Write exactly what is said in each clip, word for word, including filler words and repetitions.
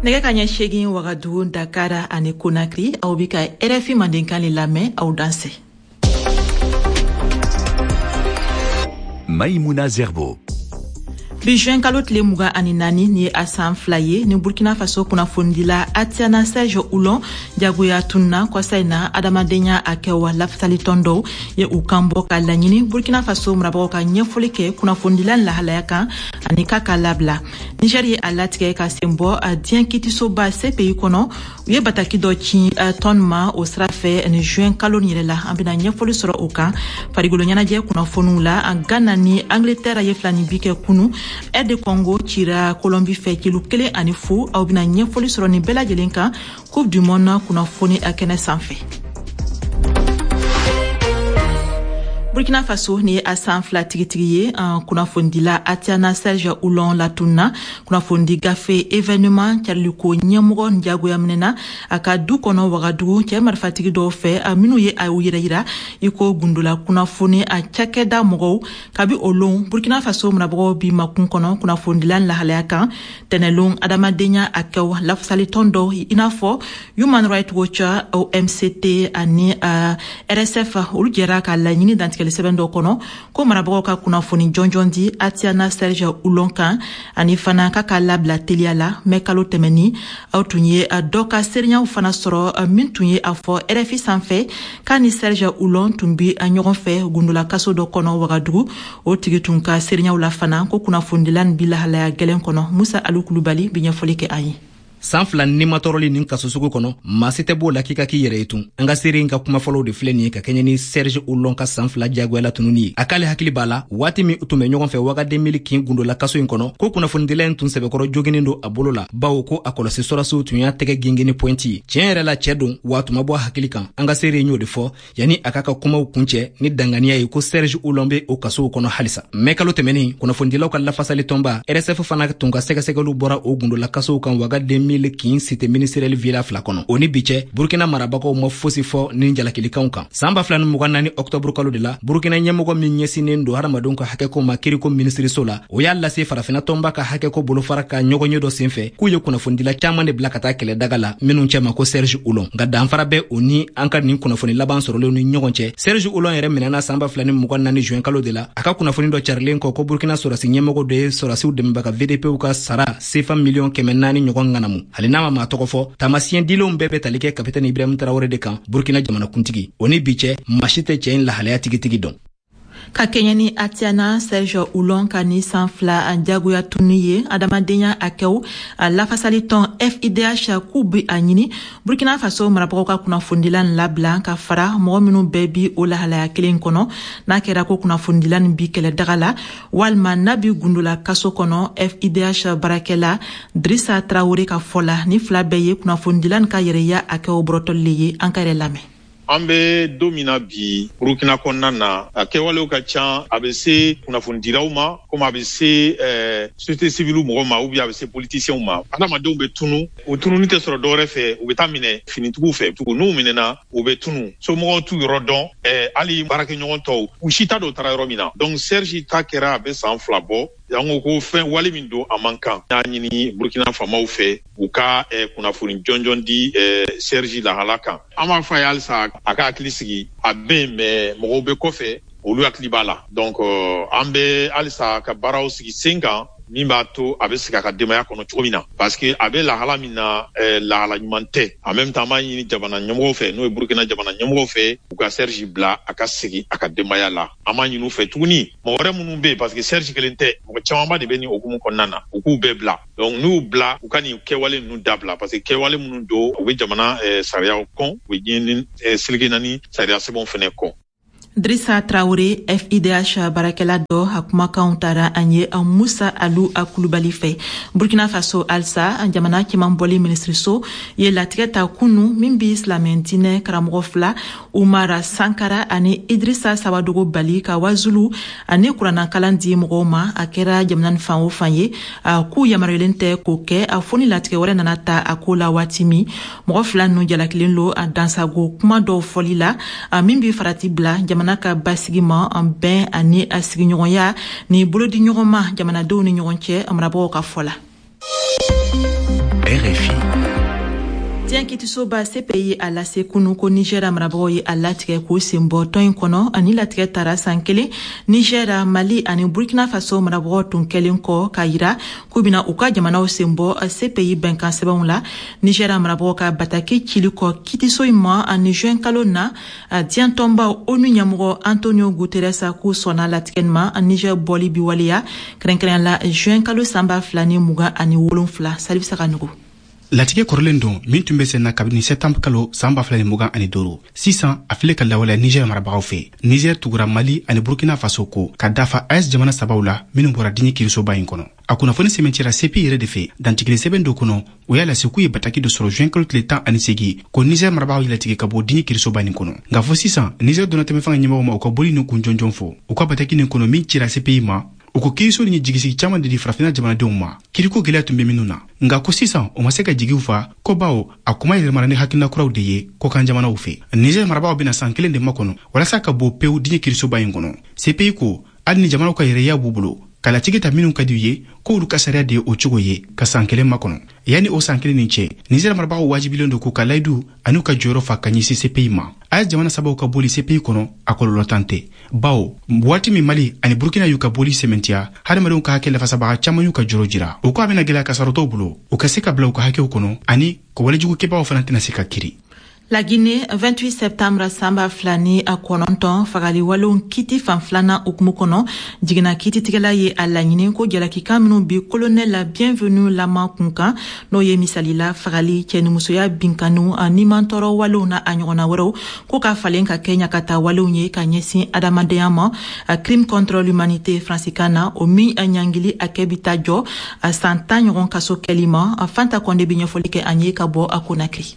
Nɛgɛ ka ɲɛ seegin Wagadugu, Dakar ani Konakiri, aw bi ka R F I Mandenkan le lamɛn. Aw danse. Maïmouna Zerbo. Bi juin kalo tile mugan ani naani, ni ye a san fila ye ni Burkina Faso kunnafonidila Atiana Serge Oulon jagoya tunna kɔsa in na. Adamadenya hakɛw lafasalitɔn dɔw ye u kan bɔ ka laɲini Burkina Faso marabagaw ka ɲɛfɔli kɛ kunnafonidila lahalaya kan ani k'a ka labila. Niger ye a latigɛ ka sen bɔ diɲɛ kitisoba C P I kɔnɔ. U ye bataki dɔ ci tɔn ma o sira fɛ ni juin kalo nin yɛrɛ la. An bena ɲɛfɔli sɔrɔ o kan. Farigolo ɲɛnajɛ kunnafoniw la, Ghana ni Angleterre ye fila ni bi kɛ kunu. R D Congo cira Colombie fɛ kilo kelen ani fu. Aw bena ɲɛfɔli sɔrɔ nin bɛɛ lajɛlen kan Coupe du monde kunnafoni a kɛnɛ sanfɛ. Burkina Faso, ni ye a san fila tigitigi ye kunnafonidila Atiana Serge Oulon latunna. Kunnafonidi gafe Événement cariliko ɲɛmɔgɔ jagoya minɛna a ka du kɔnɔ Wagadugu cɛɛ marifatigi dɔw fɛ, minw ye a yɛrɛ yira i ko gundola kunnafoni a cakɛda mɔgɔw. Kabi o lon, Burkina Faso marabagaw bi makun kɔnɔ kunnafonidila lahalaya kan. Tɛnɛlon, adamadenya hakɛw lafasalitɔn dɔw i n'a fɔ Human Rights Watch, O M C T ani uh, R S F, olu jɛra ka laɲini dantigɛli sɛbɛn dɔ kɔnɔ ko marabagaw ka kunnafoni jɔnjɔn di Atiana Serge Oulon kan ani fana k'a ka labila teliya la. Mɛ kalo tɛmɛni, aw tun ye dɔ ka seereyaw fana sɔrɔ min tun ye a fɔ R F I sanfɛ k'a ni Serge Oulon tun bi ɲɔgɔn fɛ gundola kaso dɔ kɔnɔ Wagadugu. O tigi tun ka seereyaw la fana ko kunnafonidila nin bi lahalaya gwɛlɛn kɔnɔ. Musa Alu Kulubali bi ɲɛfɔli kɛ an ye. San fila nimatɔrɔli nin kaso sugu kɔnɔ, maa si tɛ b'o la k'i ka k'i yɛrɛ ye tun. An ka seere in ka kuma fɔlɔw de filɛ nin ye ka kɛɲɛ ni Serge Oulon ka san fila jagoyala tununi ye. A k'ale hakili b'a la waati min u tun bɛ ɲɔgɔn fɛ Wagademili kin gundola kaso in kɔnɔ, ko kunnafonidila in tun sɛbɛkɔrɔ joginen don a bolo la, bawo ko a kɔlɔsi sɔrɔsiw tun y'a tɛgɛ gengeni pɔɛnti ye. Tiɲɛ yɛrɛ la, cɛɛ don wa tuma bɔ a hakili kan. An ka seere in y'o de fɔ yanni a k'a ka kumaw kuncɛ ni danganiya ye ko Serge Oulon be o kasow kɔnɔ halisa. Mɛ kalo tɛmɛnin, kunnafonidilaw ka lafasali tɔnba R S F fana tun ka sɛgɛsɛgɛliw bɔra o gundola kasow kan Wagademili kin cité ministérielle villa fila kɔnɔ. O ni bi cɛ, Burukina marabagaw ma fosi fɔ ni jalakilikanw kan. Saan ba fila ni mugan naani ɔktɔburu kalo de la, Burukina ɲɛmɔgɔ min ɲɛsinnen don hadamadenw ka hakɛko ma kiriko minisiriso la, o y'a lase Farafina tɔnba ka hakɛko bolofara ka ɲɔgɔnye dɔ senfɛ k'u ye kunnafonidila caaman de bila ka taa kɛlɛdaga la, minw cɛma ko Serge Oulon. Nka danfara bɛ o ni an ka nin kunnafoni laban sɔrɔlenw ni ɲɔgɔn cɛ. Serge Oulon yɛrɛ minɛna saan ba fila ni mugan naani juin kalo de la, a ka kunnafoni dɔ carilen kɔ ko Burukina sɔrɔsi ɲɛmɔgɔ dɔ ye sɔrɔsiw dɛmɛbaga V D Pw ka sara sefa miliyɔn kɛmɛ naani ɲɔgɔn ŋanamu. Hali n'a ma maa tɔgɔ fɔ, taamasiyɛn dilenw bɛɛ bɛ tali kɛ kapitɛni Ibrahim Tarawele de kan, Burukina jamanakuntigi. O ni bi cɛ, maa si tɛ cɛɛ in lahalaya tigitigi dɔn. Ka kɛɲɛ ni Atiana Serge Oulon ka ni san fila jagoya tunu ye, adamadenya hakɛw lafasalitɔn F I D H k'u bi a ɲini Burkina Faso marabagaw ka kunnafonidila nin labila ka fara mɔgɔ minw bɛɛ bi o lahalaya kelen kɔnɔ. N'a kɛra ko kunnafonidila nin bi kɛlɛdaga la walima n'a bi gundola kaso kɔnɔ, F I D H baarakɛla Drissa Traoré ka fɔ la, ni fila bɛɛ ye kunnafonidila nin ka yɛrɛya hakɛw bɔrɔtɔli le ye. An ka yɛrɛ lamɛn. An bɛ don min na bi, Burukina kɔnɔna na, a kɛwalew ka ca. A bɛ se kunnafonidilaw ma komi a bɛ se ɛɛ société civile mɔgɔw ma ou bien a bɛ se politiciens ma. Adamadenw bɛ tunu, o tununi tɛ sɔrɔ dɔwɛrɛ fɛ, u bɛ taa minɛ finitigiw fɛ tugun. N'u minɛna, u bɛ tunu, somɔgɔw t'u yɔrɔ dɔn, ɛɛ hali baarakɛɲɔgɔn tɔw, u si t'a dɔn u taara yɔrɔ min na. Donc Serge ta kɛra, a bɛ san fila bɔ. An ko ko fɛn wale min don, a man kan. Y'a ɲini Burukina faamaw fɛ u ka eh, kunnafoni jɔnjɔn di eh, Serge lahala kan. An b'a fɔ a ye halisa a ka hakili sigi, a bɛ yen, mais mɔgɔw bɛ kɔfɛ, olu hakili b'a la. Donc euh, an bɛ halisa ka baaraw sigi sen kan min b'a to a bɛ segin a ka denbaya kɔnɔ cogo min na, parce que a bɛ lahala min na, eh, lahala ɲuman tɛ. En même temps, an b'a ɲini jamana ɲɛmɔgɔw fɛ, n'o ye Burukina jamana ɲɛmɔgɔw fɛ, u ka Serge bila a ka segin a ka denbaya la. An b'a ɲini u fɛ tuguni, mɔgɔ wɛrɛ minnu bɛ yen, parce que Serge kelen tɛ, mɔgɔ camanba de bɛ nin hukumu kɔnɔna na, u k'u bɛɛ bila. Donc n'u y'u bila, u ka nin kɛwale ninnu dabila, parce que kɛwale minnu don, u bɛ jamana eh, sariyaw kɔn, u bɛ diɲɛ eh, seleke naani sariya sɛbɛnw fɛnɛ kɔn. Drissa Traoré, F I D H baarakɛla dɔ, a kumakanw tara an ye Musa Alu a Kulubali fɛ. Burkina Faso halisa, jamana cɛman bɔli minisiriso ye latigɛ ta kunu min bi silamɛ diinɛ karamɔgɔ fila, Umara Sankara ani Idrissa Sawadogo, bali ka wazulu ani kuranakalan di mɔgɔw ma, a kɛra jamana ni fan o fan ye, k'u yamaruyalen tɛ k'o kɛ a fo ni latigɛ wɛrɛ nana ta a ko la. Waati min mɔgɔ fila ninnu jalakilen lo a dansago kuma dɔw fɔli la min bi farati bila jamana ka basigi ma, an bɛn ani a sigiɲɔgɔnya ni bolodiɲɔgɔnma jamanadenw ni ɲɔgɔn cɛ, marabagaw ka fɔ la. R F I. Diɲɛ kitisoba C P I a lase kunu ko Nigɛra marabagaw ye a latigɛ k'u sen bɔ tɔn in kɔnɔ. Ani latigɛ tara san kelen Nigɛra, Mali ani Burkina Faso marabagaw tun kɛlen kɔ k'a yira k'u bena u ka jamanaw sen bɔ C P I bɛnkan sɛbɛnw la. Nigɛra marabagaw ka bataki cili kɔ kitiso in ma ani juin kalo na, diɲɛ tɔnba ONU ɲɛmɔgɔ Antonio Guterres k'u sɔnna latigɛ ma. Niger bɔli bi waleya kɛrɛnkɛrɛnya la juin kalo san ba fila ni mugan ani wolonfila. Salif Saganugu. Latigɛ kɔrɔlen don min tun bɛ sen na kabini sɛtanburu kalo san ba fila ni mugan ani duuru. Sisan a filɛ ka lawaleya Niger marabagaw fɛ. Niger tugura Mali ani Burkina Faso ko ka dafa A E S jamana sabaw la minnu bɔra diɲɛ kirisoba in kɔnɔ. A kunnafoni sɛmɛntiyara C P I yɛrɛ de fɛ dantigɛli sɛbɛn dɔ kɔnɔ. O y'a lase k'u ye bataki dɔ sɔrɔ juin kalo tile tan ani segi ko Niger marabagaw ye latigɛ ka bɔ diɲɛ kirisoba nin kɔnɔ. Nka fɔ sisan, Niger donnatɛmɛ fanga ɲɛmɔgɔw ma u ka boli nin kun jɔnjɔn fɔ. U ka bataki nin kɔnɔ min cira C P I ma, u ko kiiriso nin ye jigisigi caaman de di Farafina jamanadenw ma, kiriko gwɛlɛya tun be minnu na. Nka ko sisan o ma se ka jigiw fa ko bawo a kuma yɛlɛmara ni hakilina kuraw de ye kɔkan jamanaw fɛ. Niger marabagaw bena san kelen de makɔnɔ walasa ka bɔ pewu diɲɛ kirisoba in kɔnɔ. C P I ko hali ni jamanaw ka yɛrɛya b'u bolo ka latigɛ ta minw ka di u ye, k'olu ka sariya de ye o cogo ye ka san kelen makɔnɔ. Yanni o san kelen nin cɛ, Niger marabagaw wajibilen don k'u ka layidu an'u ka jɔyɔrɔ fa ka ɲɛsin C P I ma. A E S jamana sabaw ka boli C P I kɔnɔ, a kɔlɔlɔ tan tɛ, bawo waati min Mali ani Burkina y'u ka boli sɛmɛntiya, hadamadenw ka hakɛ lafasabaga caaman y'u ka jɔrɔ jira. U ko a bena gwɛlɛya kasarɔtɔw bolo u ka se ka bila u ka hakɛw kɔnɔ ani ko walejugukɛbagaw fana tɛna se ka kiri. La Guinée, vingt-huit septembre san ba fila ni a kɔnɔntɔn fagali walenw kiti fan filanan hukumu kɔnɔ, jiginna kititigɛla ye a laɲini ko jalakikan minw bi colonel Bienvenu Lama kun kan, n'o ye misalila fagali, cɛnimusoya binkaniw, nimantɔɔrɔ walenw na a ɲɔgɔnna wɛrɛw, ko ka falen ka kɛ ɲagata walenw ye ka ɲɛsin adamadenya ma, crime contre l'humanité faransikan na, o min ɲangili hakɛ bi taa jɔ a san tan ɲɔgɔn kaso kɛli ma. Fanta Kɔnde bi ɲɛfɔli kɛ an ye ka bɔ a Konakiri.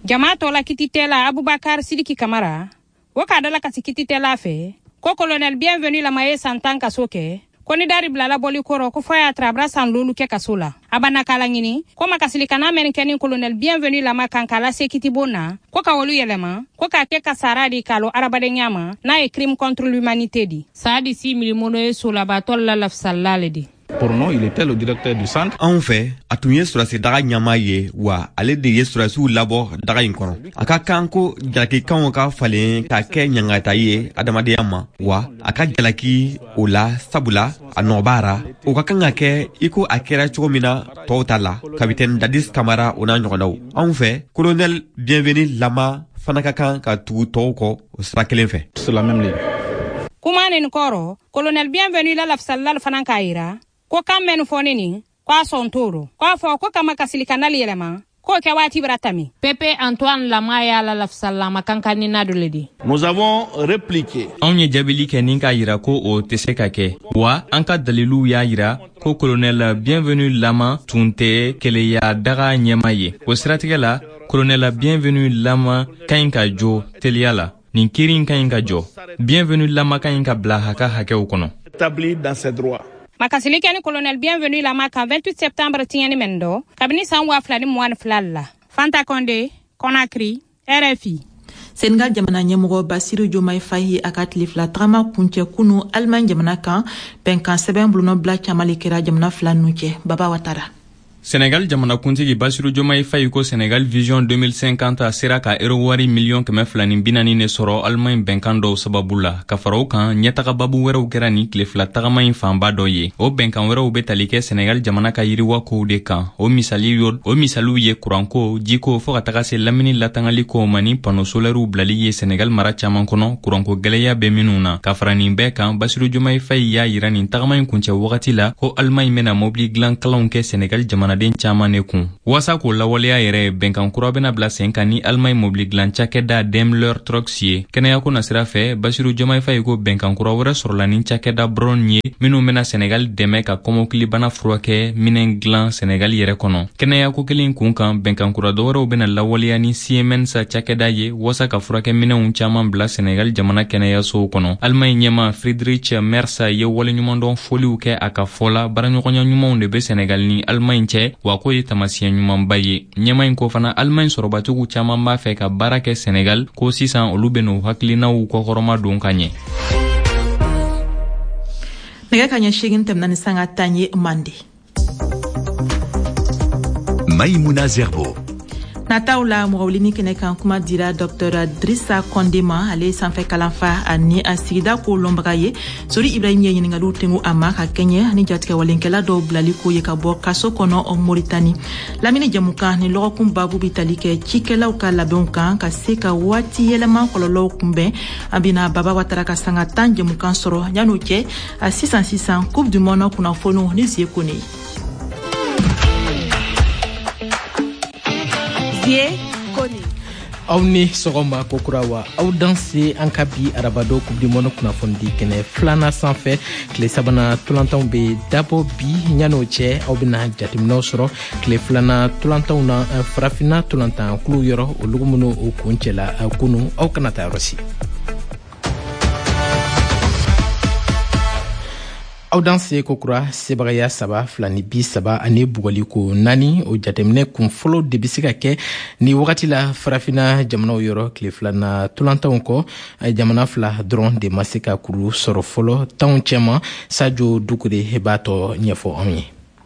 Jama tɔ la kititɛla Abubakar Sidiki Kamara wo k'a dala kasi kititɛla fɛ ko colonel Bienvenu Lama ye san tan kaso kɛ, ko ni dari bilala bɔli kɔrɔ, ko fɔ y'a tara a bara san lolu kɛ kaso la. A banna k'a laɲini ko makasilikana mɛn kɛ ni colonel Bienvenu Lama kan k'a lase kitibon na, ko ka olu yɛlɛma ko k'a kɛ kasara di k'a lɔ adamadenya ma, n'a ye crime contre l'humanité di. Saadi Si Milimono ye solabatɔ la lafisalla le di. Pour nous, il était le directeur du centre. Anw fɛ, a tun ye sɔrɔdasi daga ɲɛmaa ye, wa ale de ye sɔrɔdasiw labɔ daga in kɔnɔ. A ka kan ko jalakikanw ka falen ka kɛ ɲangata ye adamadenya ma, wa a ka jalaki o la, sabula a nɔ b'a ra. O ka kan ka kɛ i ko a kɛra cogo min na tɔw ta la, kapitɛni Dadis Kamara o n'a ɲɔgɔnnaw. Anw fɛ, colonel Bienvenu Lama fana ka kan ka tugu tɔw kɔ o sira kelen fɛ. Sur la même ligne. Kuma nin kɔrɔ, colonel Bienvenu la lafisalla fana k'a yira ko kan mɛn fɔ ne nin ko a sɔn t'o rɔ, k'a fɔ ko kama kasilikanali yɛlɛma k'o kɛ waati bara tami. Pepe Antoine Lama y'a la lafisallama kankanina dɔ le di. Nous avons répliqué. Anw ye jaabili kɛ ni k'a yira ko o tɛ se ka kɛ, wa an ka daliluw y'a yira ko colonel Bienvenu Lama tun tɛ keleya daga ɲɛma ye. O siratigɛ la, colonel Bienvenu Lama ka ɲi ka jɔ teliya la. Nin kiiri in ka ɲi ka jɔ. Bienvenu Lama ka ɲi ka bila a ka hakɛw kɔnɔ. Établi dans ses droits. Makasili kɛ ni colonel Bienvenu Lama kan vingt-huit septembre tiɲɛni mɛn dɔ kabini san waa fila ni mugan ni fila la. Fanta Konde, Conakry, R F I. Senegal jamana ɲɛmɔgɔ Basiru Jomai Fayi a ka tile fila tagama kuncɛ kunu Alimaɲi jamana kan. Bɛnkan sɛbɛn bolonɔbila caman le kɛra jamana fila ninnu cɛ. Baba Watara. Senegal jamanakuntigi Basiru Jomayi Fayi ko Senegal Vision deux mille cinquante sera ka euro wari miliyɔn kɛmɛ fila ni bi naani de sɔrɔ Alimaɲi bɛnkan dɔw sababu la. Ka fara o kan, ɲɛtaga babu wɛrɛw kɛra nin tile fila tagama in fanba dɔ ye. O bɛnkan wɛrɛw bɛ tali kɛ Senegal jamana ka yiriwa kow de kan. O misali o misaliw ye kuranko, jiko, fɔɔ ka taga se lamini latangali kow ma ni panneau solairew bilali ye Senegal mara caaman kɔnɔ, kuranko gwɛlɛya bɛ minnu na. Ka fara nin bɛɛ kan, Basiru Jomayi Fayi y'a yira nin tagama in kuncɛ wagati la ko Alimaɲi bɛna mobili dilan kalanw kɛ Senegal jamana jamanaden caaman de kun. Waasa k'o lawaleya yɛrɛ, bɛnkan kura bena bila sen kan ni Alimaɲi mobili dilan cakɛda Daimler Trucks ye. Kɛnɛyako nasira fɛ, Basiru Jomayi Fayi ko bɛnkan kura wɛrɛ sɔrɔla ni cakɛda Braun ye, minw bena Senegal dɛmɛ ka kɔmɔkilibana furakɛ minɛn dilan Senegal yɛrɛ kɔnɔ. Kɛnɛyako kelen kun kan, bɛnkan kura dɔwɛrɛw bena lawaleya ni Siemens cakɛda ye waasa ka furakɛ minɛnw caaman bila Senegal jamana kɛnɛyasow kɔnɔ. Alimaɲi ɲɛma Friedrich Merz ye waleɲumandɔn foliw kɛ. A ka fɔ la, baaraɲɔgɔnya ɲumanw de be Senegal ni Alimaɲi cɛ, wa k'o ye taamasiyɛn ɲumanba ye. Ɲɛma in ko fana, Alimaɲi sɔrɔbatigiw caaman b'a fɛ ka baara kɛ Senegal, ko sisan olu ben'u hakilinaw kɔkɔrɔma don ka ɲɛ. Nɛgɛ ka ɲɛ seegin tɛmɛna ni sanga tan ye mande. Maïmouna Zerbo. Nataw la mɔgɔwulini kɛnɛ kan, kuma dira Docteur Drissa Konde ma. Ale ye sanfɛ kalanfa ani a sigida ko lɔnbaga ye. Sori Ibrahim ye ɲiningaliw tengu a ma ka kɛɲɛ ni jatigɛwalenkɛla dɔw bilali ko ye ka bɔ kaso kɔnɔ Moritani. Lamini jɛmukan ni lɔgɔkun babu bi tali kɛ cikɛlaw ka labɛnw kan ka se ka waati yɛlɛma kɔlɔlɔw kunbɛn. An bena Baba Watara ka sanga tan jɛmukan sɔrɔ. Yan'o cɛ, a sisan sisan, Coupe du monde kunnafoniw ni Zie Kone. Aw ni sɔgɔma kokura wa aw danse an ka bi arabado Coupe du monde kunnafonidi kɛnɛ filanan sanfɛ. Tile sabanan tolantanw be dabɔ bi. Ɲan'o cɛ, aw bena jateminɛw sɔrɔ tile filanan tolantanw na farafinna tolantan kulu yɔrɔ, olugu minnu o kun cɛla kunu. Aw kana taa yɔrɔ si. Aw danse kokura. Sebagaya saba fila ni bi saba ani bugaliko naani, o jateminɛ kun fɔlɔ de be se ka kɛ ni wagati la farafina jamanaw yɔrɔ. Tile filana tolantanw kɔ, jamana fila dɔrɔn de ma se ka kuru sɔrɔ fɔlɔ tanw cɛma. Sajo Dukure b'a tɔ ɲɛfɔ anw ye.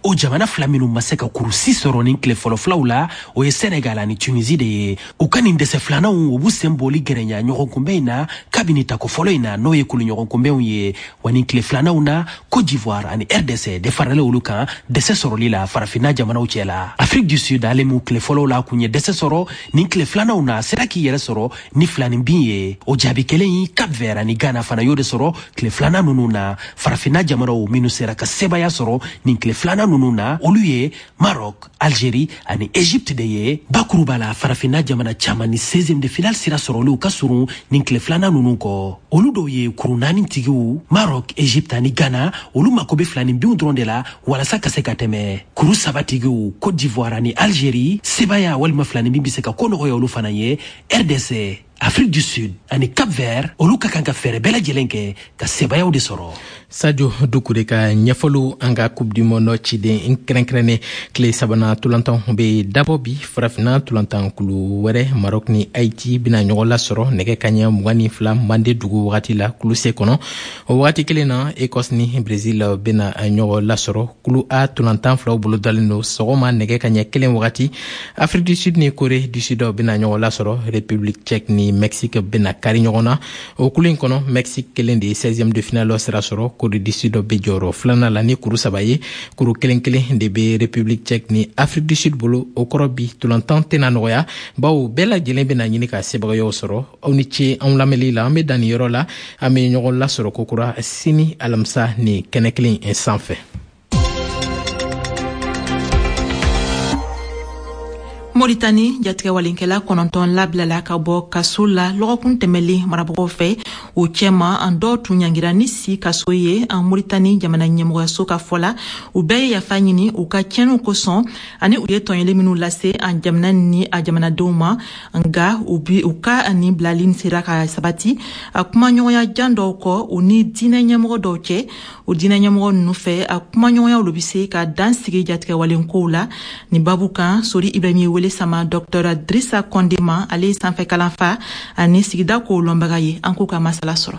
O jamana fila minnu ma se ka kurusi sɔrɔ nin tile fɔlɔ filaw la, o ye Senegal ani Tunisie de ye. U ka nin dɛsɛ filananw, u b'u sen bɔli gɛrɛnya ɲɔgɔn kunbɛn in na kabini tako fɔlɔ in na, n'o ye kulu ɲɔgɔn kunbɛnw ye. Wa nin tile filananw na, Côte d'Ivoire ani R D C de faralen olu kan dɛsɛ sɔrɔli la farafinna jamanaw cɛ la. Afrique du Sud, ale m'u tile fɔlɔw la kun ye dɛsɛ sɔrɔ, nin tile filananw na sera k'i yɛrɛ sɔrɔ ni filanin bin ye. O jaabi kelen in, Cap Vert ani Ghana fana y'o de sɔrɔ tile filanan ninnu na. Farafinna jamanaw minnu sera ka sebaya sɔrɔ nin tile filanan ninnu na, olu ye Maroc, Algérie ani Égypte de ye. Bakuruba la, farafinna jamana caman ni seizième de finale sira sɔrɔliw ka surun nin tile filanan ninnu kɔ. Olu dɔw ye kuru naani tigiw, Maroc, Égypte ani Ghana. Olu mako bɛ filanin binw dɔrɔn de la walasa ka se ka tɛmɛ. Kuru saba tigiw, Côte d'Ivoire ani Algérie, sebaya walima filanin bin bɛ se ka ko nɔgɔya olu fana ye. R D C, Afrique du Sud ani Cap Vert, olu ka kan ka fɛɛrɛ bɛɛ lajɛlen kɛ ka sebayaw de sɔrɔ. Sadio Dukure ka ɲɛfɔliw, an ka Coupe du monde ciden kɛrɛnkɛrɛnnen. Tile sabanan tolantanw be dabɔ bi. Farafinna tolantan kulu wɛrɛ, Maroc ni Haiti bena ɲɔgɔn lasɔrɔ nɛgɛ kaɲɛ mugan ni fila mande dugu wagati la kulu C kɔnɔ. O wagati kelen na, Écosse ni Brésil bena ɲɔgɔn lasɔrɔ. Kulu A tolantan filaw bolo dalen don sɔgɔma nɛgɛ kaɲɛ kelen wagati. Afrique du Sud ni Corée du Sud bena ɲɔgɔn lasɔrɔ. République tchèque ni Mexique bena kari ɲɔgɔn na. O kulu in kɔnɔ, Mexique kelen de ye seizième de finale sira sɔrɔ. Corée du Sud bɛ jɔyɔrɔ filanan la ni kuru saba ye. Kuru kelen kelen de bɛ République tchèque ni Afrique du Sud bolo. O kɔrɔ, bi tolantan tɛna nɔgɔya, bawo bɛɛ lajɛlen bɛna ɲini ka sebagayaw sɔrɔ. Aw ni ce anw lamɛnli la. An bɛ dan nin yɔrɔ la. An bɛ ɲɔgɔn lasɔrɔ kokura sini alamisa ni kɛnɛ kelen in sanfɛ. Moritani, jatigɛwalenkɛla kɔnɔntɔn labilala ka bɔ kaso la lɔgɔkun tɛmɛlen marabagaw fɛ. O cɛma, an dɔw tun ɲangira ni si kaso ye. An Moritani jamana ɲɛmɔgɔyaso ka fɔ la, u bɛɛ ye yafa ɲini u ka tiɲɛniw kosɔn ani u ye tɔɲɔli minnu lase an jamana ni a jamanadenw ma. Nga u bi u ka nin bilali sera ka sabati a kumaɲɔgɔnya jan dɔw kɔ u ni diinɛ ɲɛmɔgɔ dɔw cɛ. O diinɛ ɲɛmɔgɔ ninnu fɛ, a kumaɲɔgɔnyaw lo bi se ka dan sigi jatigɛwalenkow la. Nin babu kan, Sori Ibrahim ye wele sama Docteur Drissa Konde ma. Ale ye sanfɛ kalanfa ani sigida kow lɔnbaga ye. An k'u ka masala sɔrɔ.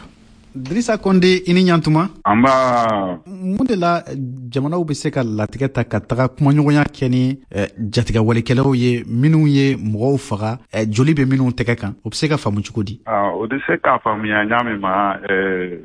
Drissa Konde, i ni ɲantuma. Anba. Mun de la jamanaw bɛ se ka latigɛ ta ka taga kumaɲɔgɔnya kɛ ni jatigɛwalekɛlaw ye minnu ye mɔgɔw faga, joli bɛ minnu tɛgɛ kan? O bɛ se ka faamu cogo di? O bɛ se k'a faamuya ɲa min ma,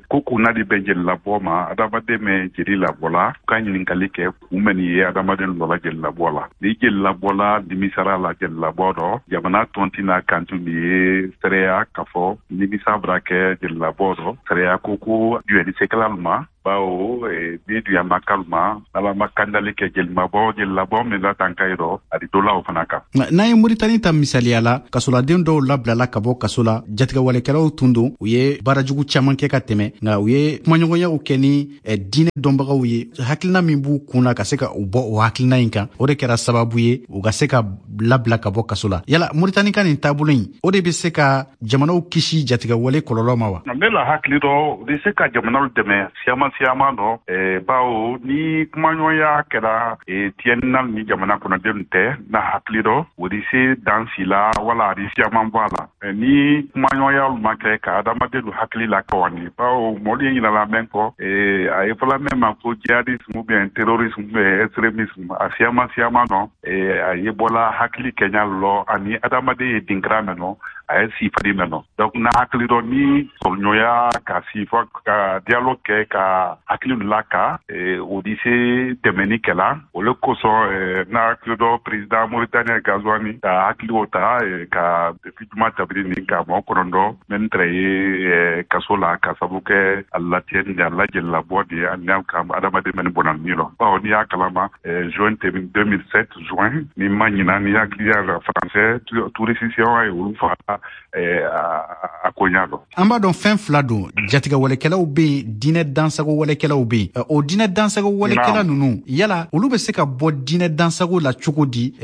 ko kunna di bɛ jeli labɔ ma, adamaden bɛ jeli labɔ la, u ka ɲininkali kɛ kun bɛ nin ye adamaden lɔla jeli labɔ la. Ni jeli labɔla nimisara la jeli labɔ dɔ, jamana tɔnti n'a kantu min ye sɛrɛya k'a fɔ nimisa bara kɛ jeli labɔ dɔ, sɛrɛya ko ko juyɛnisekɛla ma, bawo ni duyama kalma ala ma kandali kɛ jelimabɔ jelilabɔ min la tan ka yɔrɔ a di dɔ la o fana kan. N'an ye Moritani ta misaliya la, kasoladen dɔw labilala ka bɔ kaso la. Jatigɛwalekɛlaw tun don, u ye baarajugu caman kɛ ka tɛmɛ, nka u ye kumaɲɔgɔnyaw kɛ ni diinɛ dɔnbagaw ye. Hakilina min b'u kun na ka se ka u bɔ o hakilina in kan, o de kɛra sababu ye u ka se ka labila ka bɔ kaso la. Yala Moritani ka nin taabolo in, o de bɛ se ka jamanaw kisi jatigɛwale kɔlɔlɔ ma wa? Ne la hakili dɔ, o bɛ se ka jamanaw dɛmɛ siyaman siyaman nɔ, eh, bawo ni kumaɲɔgɔnya kɛra eh, tiɲɛnina ni jamana kɔnɔdenw tɛ na hakili dɔ o di se dan si la wala a di siyaman bɔ a la. Eh, ni kumaɲɔgɔnya ma kɛ ka adamadenw hakili la kawani, bawo mɔlu ye ɲinala mɛn kɔ, eh, a ye fɔla mɛn ma ko jihadisme ou bien terrorisme ou bien extrémisme, a siyaman siyaman nɔ, eh, a ye bɔla hakili kɛɲa lɔ ani adamaden ye dinkira mɛn nɔ, a ye sifadi mɛn nɔ. Donc na hakili dɔ ni sɔrɔɲɔgɔnya ka sifa ka dialogue kɛ ka hakili la ka o di se dɛmɛni kɛla. O le kosɔn na hakili dɔ président Mauritanie Gazouani ka hakili o ta ka depuis juma tabiri ni ka mɔgɔ kɔnɔntɔn mɛn tɛrɛ ye kaso la ka sabu kɛ a latiɲɛ ni a lajelilabɔ de ye ani ka adamaden mɛn bɔnna ni rɔ. Bawo n'i y'a kalama juin deux mille sept juin ni ma ɲina ni hakili y'a la français touriste ye olu faga a ko ɲa dɔn. An b'a dɔn fɛn fila don, jatigɛwalekɛlaw bɛ yen, diinɛ dansago walekɛlaw bɛ yen. O diinɛ dansago walekɛla ninnu, yala olu bɛ se ka bɔ diinɛ dansago la cogo di?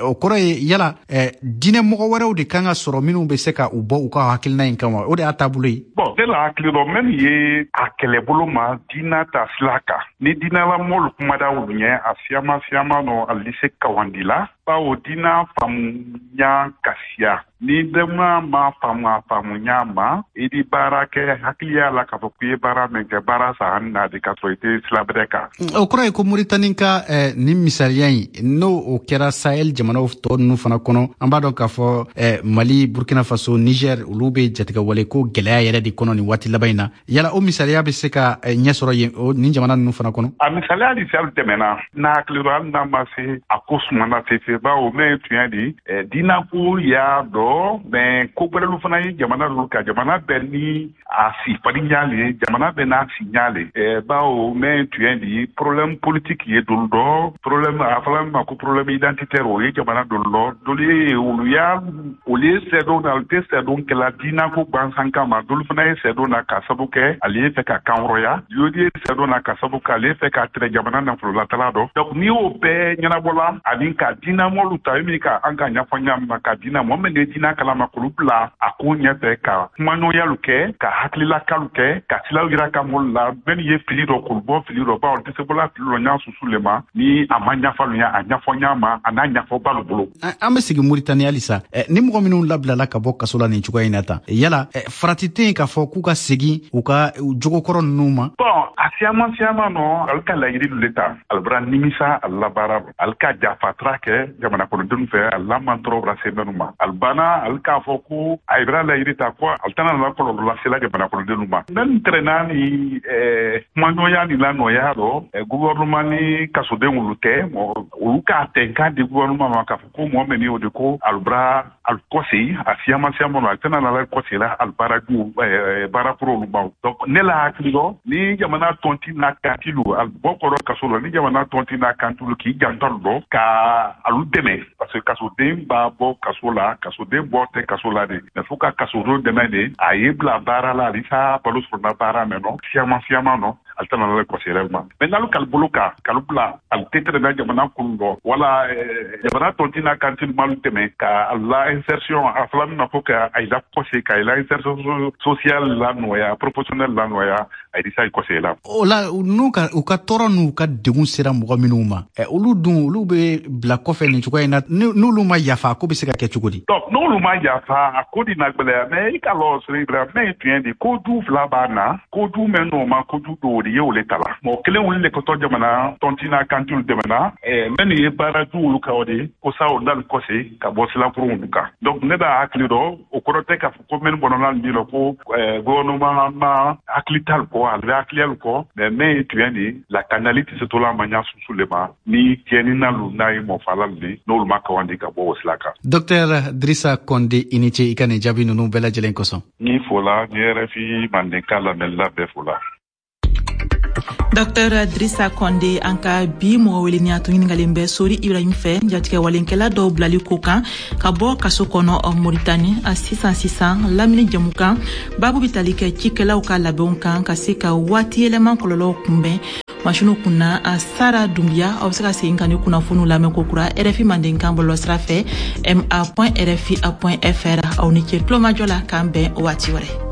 O kɔrɔ ye yala diinɛ mɔgɔ wɛrɛw de kan ka sɔrɔ minnu bɛ se ka u bɔ u ka hakilina in kan wa? O de y'a taabolo ye. Bon, ne la hakili dɔ mɛn ye a kɛlɛbolo ma diinɛ ta sira kan, ni diinɛlamɔlu kumada olu ɲɛ a siyaman siyaman nɔ a li se kawandi la, bawo diinɛ faamuya ka siya. Ni dɛmɛ ma faamu a faamuya ma, i di baara kɛ hakiliya la k'a fɔ k'i ye baara min kɛ baara san na de k'a sɔrɔ i tɛ sira bɛrɛ kan. O kɔrɔ ye ko Mauritanie ka eh, nin misaliya in, n'o o kɛra Sahel jamanaw tɔ ninnu fana kɔnɔ, an b'a dɔn k'a fɔ eh, Mali, Burkina Faso, Niger, olu bɛ jatigɛwale ko gɛlɛya yɛrɛ de kɔnɔ nin waati laban in na. Yala o misaliya bɛ se ka eh, ɲɛ sɔrɔ yen o nin jamana ninnu fana kɔnɔ? A misaliya de sali tɛmɛna n'a hakili dɔ hali n'a ma se a ko sumana fefe, bawo mɛ tuɲɛ di eh, diinako y'a dɔn. Mais ko gbɛrɛlu fana ye jamana dɔ ka jamana bɛɛ ni a sifarinya le, jamana bɛɛ n'a sinya le. Eh, bawo mɛ tuɲɛ di problème politique ye dolu dɔ, problème a fɔla min ma ko problème identitaire o ye jamana dolu dɔ, dolu ye olu y'a olu ye sɛdon na, olu tɛ sɛdon kɛla diinako gansan kama, dolu fana ye sɛdon na ka sabu kɛ ale ye fɛ ka kanhɔrɔnya, dolu ye sɛdon na ka sabu kɛ ale ye fɛ ka tɛrɛ jamana nafololatala dɔ. Donc n'i y'o bɛɛ ɲɛnabɔla ani ka diinamɔlu ta min ka an ka ɲɛfɔ ɲa ma ka diina mɔgɔ min ye diina kalama k'olu bila a ko ɲɛfɛ ka kumaɲɔgɔnyalu kɛ ka hakililakalu kɛ ka silaw yira ka mɔlu la mɛn ye fili dɔ k'olu bɔ fili dɔ, bawo tɛ se bɔla fili dɔ ɲa susu le ma ni a ma ɲafalu ɲa a ɲɛfɔ ɲa ma a n'a ɲɛfɔbalu bolo. An bɛ segin Mauritanie halisa. Ni mɔgɔ minnu labilala ka bɔ kaso la nin cogoya in na tan, yala farati tɛ yen k'a fɔ k'u ka segin u ka jogokɔrɔ ninnu ma? Bon, a siyaman siyaman nɔ ale ka laɲini dɔ le ta, ale bɔra nimisa ale la baara ale ka jafatara kɛ jamana kɔnɔdenw fɛ, ale la mantɔrɔ bɔra se minnu ma, ale banna ale k'a fɔ ko a ye bɛra laɲini ta ko ale tɛna na kɔlɔlɔ lasela jamana kɔnɔdenw ma. Mɛn tɛrɛna ni kumaɲɔgɔnya ni la nɔya dɔ gouvernement ni kasoden olu tɛ, olu k'a tɛnkan di gouvernement ma k'a fɔ ko mɔgɔ min o de ko ale bɔra ale kɔsegin a siyaman siyaman nɔ ale tɛna na kɔsegin la ale baara ju baara kɔrɔ olu ma. Donc ne la hakili dɔ ni jamana tɔnti n'a kantilu ale bɔ kɔrɔ kaso la, ni jamana tɔnti n'a kantilu k'i janto dɔ ka alu dɛmɛ, parce que kasoden b'a bɔ kaso la, kasoden bɔ tɛ kaso la de, mais fo ka kasoden dɛmɛ de a ye bila baara la alisa balo sɔrɔ na baara mɛn nɔ siyaman siyaman nɔ ale tɛna na kɔsɛbɛ ma. Mais n'alu k'ale bolo kan k'alu bila ale tɛ tɛmɛ jamana kun dɔ wala jamana tɔnti n'a kantilu m'alu dɛmɛ ka la insertion a fɔla min ma ko ka a la kɔse ka la insertion sociale la nɔgɔya professionnelle la nɔgɔya a ye sa kɔsɛbɛ la. O la n'u ka u ka tɔɔrɔ n'u ka degun sera mɔgɔ minnu ma, olu dun olu bɛ bila kɔfɛ nin cogoya in na, n'olu ma yafa a ko bɛ se ka kɛ cogo di? Donc n'olu ma yafa a ko di na gbɛlɛya, mais i ka lɔ sɔrɔ Ibrahima mɛ tuɲɛ di ko du fila b'a na, ko du mɛn n'o ma ko du dɔw de ye o le ta la. Mɔgɔ kelen wuli le kɔtɔ jamana tɔnti n'a kantilu dɛmɛna mɛnu ye baara du olu kan o de ko sa o n'alu kɔse ka bɔ silakurun olu kan. Donc ne b'a hakili dɔ o kɔrɔ tɛ k'a fɔ ko mɛnu bɔnna nin la ko gouvernement ma hakili t'alu kɔ, ale bɛ hakili alu kɔ, mais mɛ ye tuɲɛ di lakanali tɛ se to la ma ɲa susu le ma ni tiɲɛni n'alu n'a ye mɔfalalu de n'olu ma kawandi ka bɔ o sira kan. Docteur Drissa Konde, i ni ce i ka nin jaabi ninnu bɛɛ lajɛlen kosɔn. Ni fola ni R F I mandenkan lamɛnla bɛɛ fola. Docteur Drissa Konde, an ka bi mɔgɔ weleni a tun ɲininkalen bɛ Sori Ibrahim fɛ jatigɛwalenkɛla dɔw bilali ko kan ka bɔ kaso kɔnɔ Mauritanie. A sisan sisan lamini jɛmukan baabu bɛ tali kɛ cikɛlaw ka labɛnw kan ka se ka waati yɛlɛma kɔlɔlɔw kunbɛn. Masiniw kunna Sara Dunbiya, aw bɛ se ka segin ka ni kunnafoniw lamɛn ko kura R F I mandenkan bɔlɔlɔsira fɛ m a point r f i point f r. Aw ni ce tulomajɔ la, k'an bɛn waati wɛrɛ.